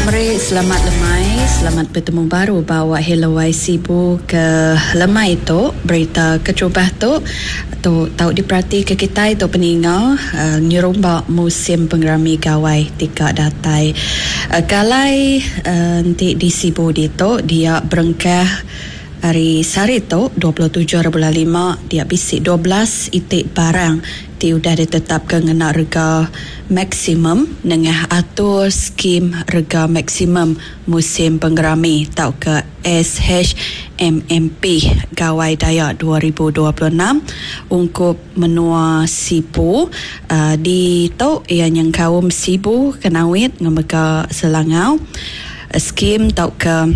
Meri selamat lemai, selamat betemu baru ba awak Hello Wai Sibu ke lemai tu. Berita keterubah tu, tu tau diperatika kitai tu peninga nyerumba musim pengerami Gawai ti ka datai. Ke alai enti di Sibu ditu dia berengkah ari sehari tu 27 hari bulan lima dia bisi 12 iti barang ti udah ditetapka ngena rega maksimum nengah atur Skim Rega Maksimum Musim Pengerami tauka SHMMP Gawai Dayak 2026 ungkup menua Sibu ditu iya nyengkaum Sibu, Kanowit enggau mega Selangau. Skim tauka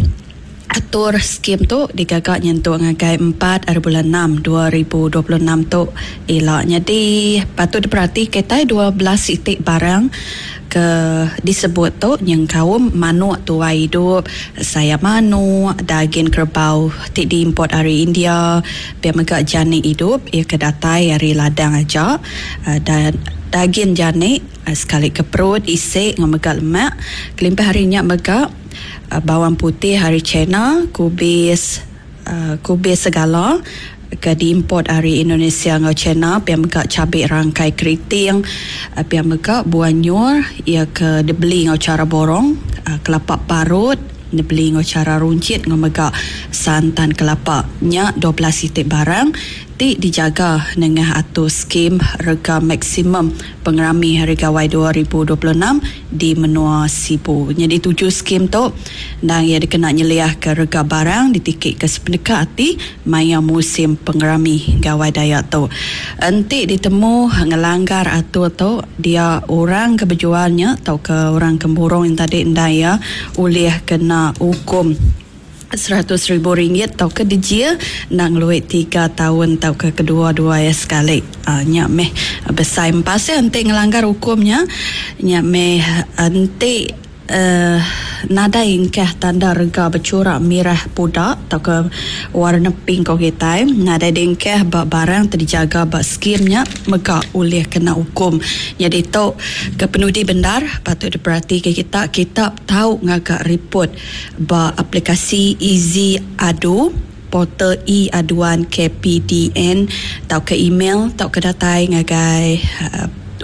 Atur skim tu digaga nyentuk ngagai empat ari bulan enam 2026 tu ila. Nyadi patut diperati kitai 12 iti barang ke disebut tu nyengkaum manuk tuai idup, sayap manuk, dagin kerebau ti diimport ari India, pia mega janik idup iya ke datai ari ladang aja dan dagin janik sekali ke perut, isi enggau mega lemak. Kelimpah ari nya mega bawang putih ari China, kubis kubis segala ke diimport ari Indonesia enggau China, pia mega chabi rangkai keriting, pia mega buah nyur iya ke dibeli enggau chara borong, kelapa parut dibeli enggau chara runchit enggau mega santan kelapa. Nya 12 iti barang ti dijaga nengah atur skim rega maksimum pengerami Hari Gawai 2026 di menua Sibu. Nyadi tuju skim tu endang iya dikena nyeliahka rega barang ditikika sepeneka ati maya musim pengerami Gawai Dayak tu. Enti ditemu ngelanggar atur tu dia orang ke bejual nya tauka orang ke mburung nya tadi endang iya ulih kena ukum 100 ribu ringgit tauka dijil enda ngelui tiga taun tauka kedua-dua iya sekali. Nya meh besai empas iya enti ngelanggar ukum nya. Nya meh enti uhh nadai engkah tanda rega bechura mirah puda tauka warna pink ko kitai nadai diengkah ba barang ti dijaga ba skim nya mega ulih kena ukum. Nyadi tu ke penudi bendar patut diperatika kita, kita tau ngaga ripot ba aplikasi Easy Adu, portal e-aduan KPDN tauka email tauka datai ngagai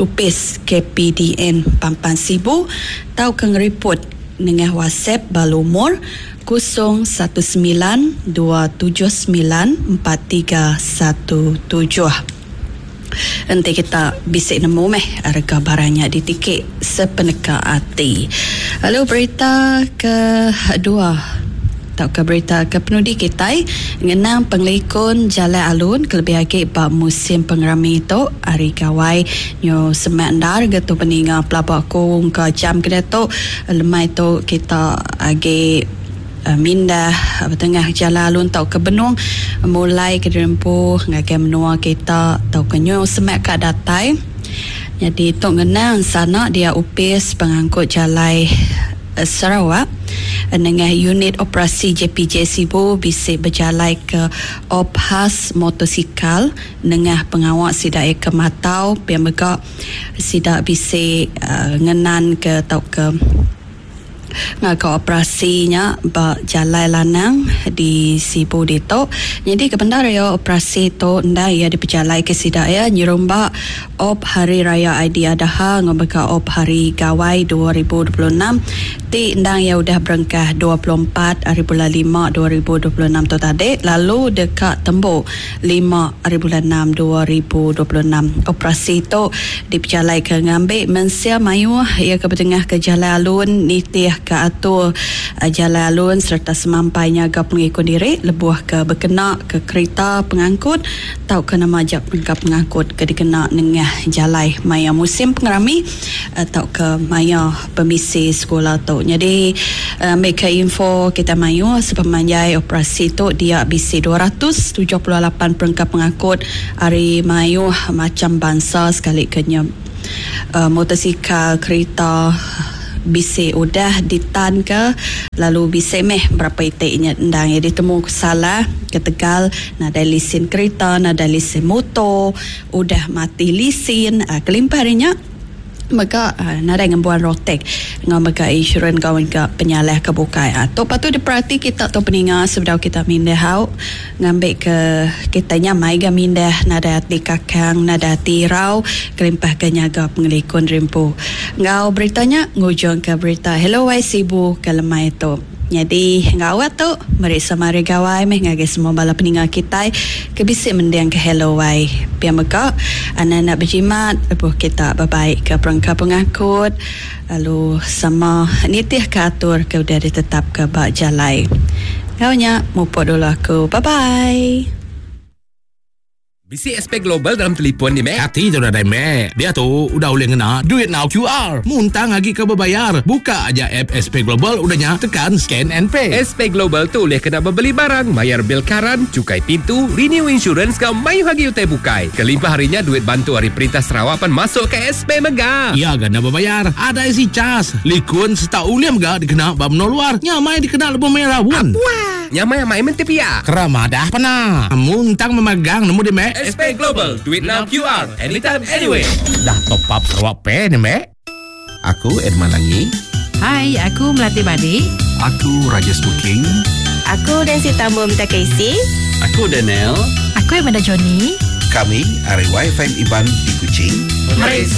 opis KPDN Pampang Sibu tauka ngeriput nengah WhatsApp ba lumur 0 19 279 4317. Enti kita bisi nemu meh rega barang nya ditiki sepeneka ati. Lalu berita ke dua tauka berita ke penudi kitai ngenang pengelikun jalai alun kelebih agi ba musim pengerami tu hari gawai nyu semak endar ga tu peninga pelaba aku engka jam ke diatu lemai tu kita agi. Mindah betengah jalai alun tauka benung mulai ke diri empu ngagai menua kita tauka nyu semak ka datai. Nyadi tu ngenang sana dia Opis Pengangkut Jalai Sarawak nengah Unit Operasi JPJ Sibu bisi bejalai ke Op Khas Motosikal nengah pengawa sida iya ke matau pia mega sida bisi ngenan ke tauka Ngaga operasi nya ba Jalai Lanang di Sibu ditu. Nyadi ke bendar iya operasi tu endang iya dipejalaika sida iya nyerumba Op Hari Raya Aidiadha enggau mega Op Hari Gawai 2026 ti endang iya udah berengkah 24 ari bulan lima 2026 tu tadi lalu deka tembu lima ari bulan enam 2026. Operasi tu dipejalaika ngambi mensia mayuh iya ke betengahka jalai alun nitihka atur jalai alun sereta semampai nyaga pengikun diri lebuh ke bekenaka kerita pengangkut tauka nama aja perengka pengangkut ke dikena nengah jalai maya musim pengerami tauka maya pemisi sekula tu. Nyadi ambika info kitai mayuh sepemanjai operasi tu dia bisi 278 perengka pengangkut ari mayuh macham bansa sekali ke nya motosikal, kerita bisi udah ditanka lalu bisi meh berapa iti nya endang iya ditemu salah ketegal nadai lisin kerita, nadai lisin moto, udah mati lisin kelimpah ari nya. Mega nadai ngembuan rotek enggau mega insurans enggau mega penyalah ke bukai. Tu patut diperati kita tu peninga sebedau kita mindah au ngambi ke kita nyamai ga mindah nadai ati kakang nadai ati irau kelimpah ke nyaga pengelikun diri empu. Enggau berita nya ngujung ke berita Hello Wai Sibu ke lemai tu. Nyadi enggau awak tu meri sama hari gawai meh ngagai semua bala peninga kitai ke bisi mending ke Hello Wai. Pia mega anang enda bejimat lebuh kita bebai ke perengka pengangkut lalu sama nitih ke atur ke udah ditetap ke ba jalai. Enggau nya mupuk dulu aku. Bye bye. Bisi SP Global dalam telipon ni meh. Kati tu nadai meh. Diatu udah ulih ngena duit enggau QR. Muntang agi ke bebayar. Buka aja app SP Global udah nya tekan scan and pay. SP Global tu ulih kena bebeli barang, mayar bil karan, chukai pintu, renew insurance enggau mayuh agi utai bukai. Kelimpah ari nya duit bantu ari perintah Sarawak pan masuk ke SP mega. Iya ga enda bebayar. Adai isi cas, likun sereta ulih mega dikena ba menua luar. Nyamai dikena lebuh maya raun. Apuah. Nyamai amai menti pia. Kera madah pena. Muntang memegang nemu di mek. SP Global, duit now QR, anytime anywhere. Dah top up Sarawak Pay ni mek. Aku Edmund Langi. Hai, aku Melati Badi. Aku Rajesh Buking. Aku Nancy Tambum Takeisi. Aku Daniel. Aku Amanda Johnny. Kami ari YFM Iban di Kuching. Meri.